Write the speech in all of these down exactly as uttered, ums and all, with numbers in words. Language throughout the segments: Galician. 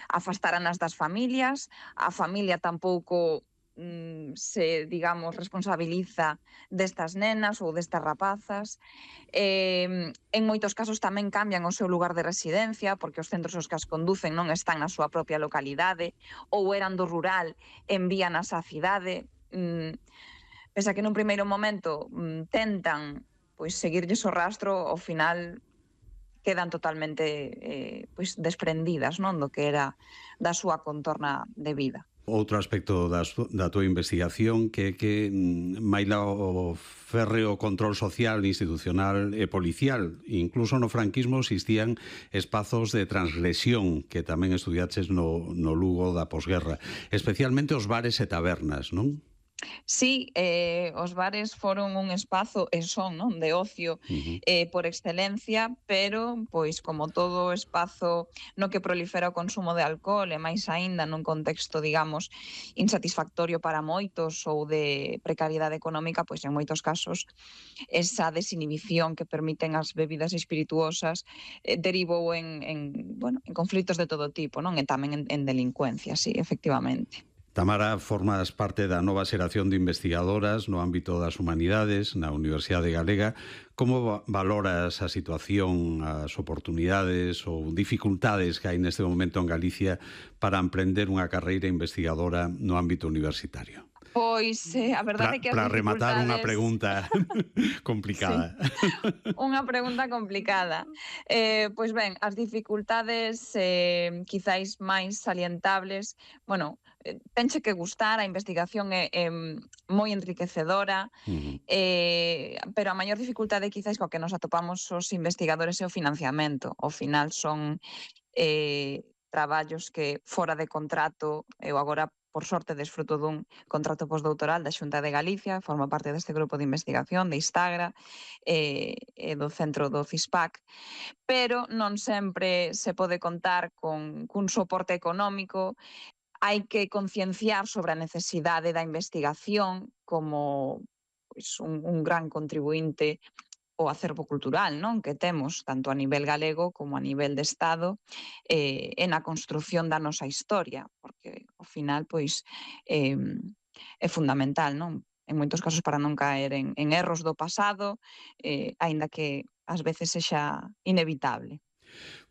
afastaran as das familias, a familia tampouco se, digamos, responsabiliza destas nenas ou destas rapazas. Eh, en moitos casos tamén cambian o seu lugar de residencia, porque os centros aos que as conducen non están na súa propia localidade, ou eran do rural, envíanas á cidade. Mm, pese a que nun primeiro momento mm, tentan pois, seguirlles o rastro, ao final quedan totalmente eh, pois, desprendidas, non, do que era da súa contorna de vida. Outro aspecto da, da tua investigación que que maila o férreo control social, institucional e policial. Incluso no franquismo existían espazos de transgresión que tamén estudiaches no, no Lugo da posguerra, especialmente os bares e tabernas, non? Sí, eh, os bares foron un espazo e son, non, de ocio uh-huh. eh, por excelencia, pero, pois, como todo espazo no que prolifera o consumo de alcohol e máis aínda nun contexto, digamos, insatisfactorio para moitos ou de precariedade económica, pois en moitos casos esa desinhibición que permiten as bebidas espirituosas eh, derivou en, en, bueno, en conflitos de todo tipo, non? E tamén en, en delincuencia, sí, efectivamente. Tamara, formas parte da nova xeración de investigadoras no ámbito das humanidades na Universidade Galega. Como valoras a situación, as oportunidades ou dificultades que hai neste momento en Galicia para emprender unha carreira investigadora no ámbito universitario? Pois, eh, a verdade é que as para dificultades... rematar unha pregunta complicada. Sí. Unha pregunta complicada. Eh, pois ben, as dificultades eh, quizáis máis salientables, bueno, tenche que gustar, a investigación é, é moi enriquecedora, uh-huh. eh, pero a maior dificultade quizáis coa que nos atopamos os investigadores é o financiamento. Ao final son eh, traballos que fora de contrato, eu agora por sorte desfruto dun contrato postdoutoral da Xunta de Galicia, formo parte deste grupo de investigación de Istagra e eh, do centro do CISPAC, pero non sempre se pode contar con cun soporte económico. Hai que concienciar sobre a necesidade da investigación como pois, un, un gran contribuinte ao acervo cultural, non, que temos tanto a nivel galego como a nivel de Estado eh, en a construción da nosa historia, porque ao final pois eh, é fundamental, non? En moitos casos para non caer en, en erros do pasado, eh, aínda que ás veces sexa inevitable.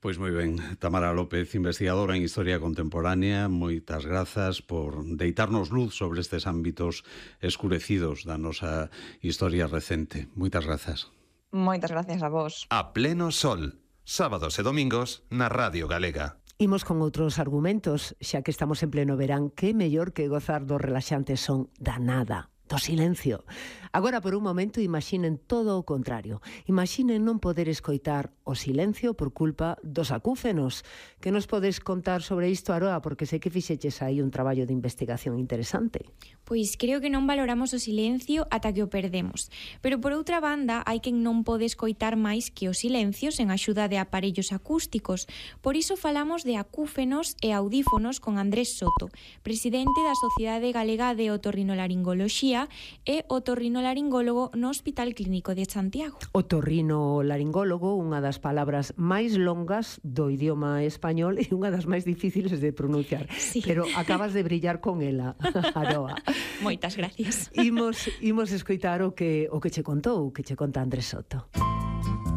Pois moi ben, Tamara López, investigadora en Historia Contemporánea, moitas grazas por deitarnos luz sobre estes ámbitos escurecidos da nosa historia recente. Moitas grazas. Moitas gracias a vos. A pleno sol, sábados e domingos na Radio Galega. Imos con outros argumentos, xa que estamos en pleno verán, que mellor que gozar do relaxante son da nada, do silencio. Agora, por un momento, imaginen todo o contrario. Imaginen non poder escoitar o silencio por culpa dos acúfenos. Que nos podes contar sobre isto, Aroa? Porque sei que fixeches aí un traballo de investigación interesante. Pois creo que non valoramos o silencio ata que o perdemos. Pero, por outra banda, hai quen non pode escoitar máis que os silencios en axuda de aparellos acústicos. Por iso falamos de acúfenos e audífonos con Andrés Soto, presidente da Sociedade Galega de Otorrinolaringoloxía e otorrinolaringólogo no Hospital Clínico de Santiago. Otorrinolaringólogo, unha das palabras máis longas do idioma español e unha das máis difíciles de pronunciar. Sí. Pero acabas de brillar con ela, Aroa. Moitas gracias. Imos, imos escoitar o que, o que che contou, o que che conta Andrés Soto.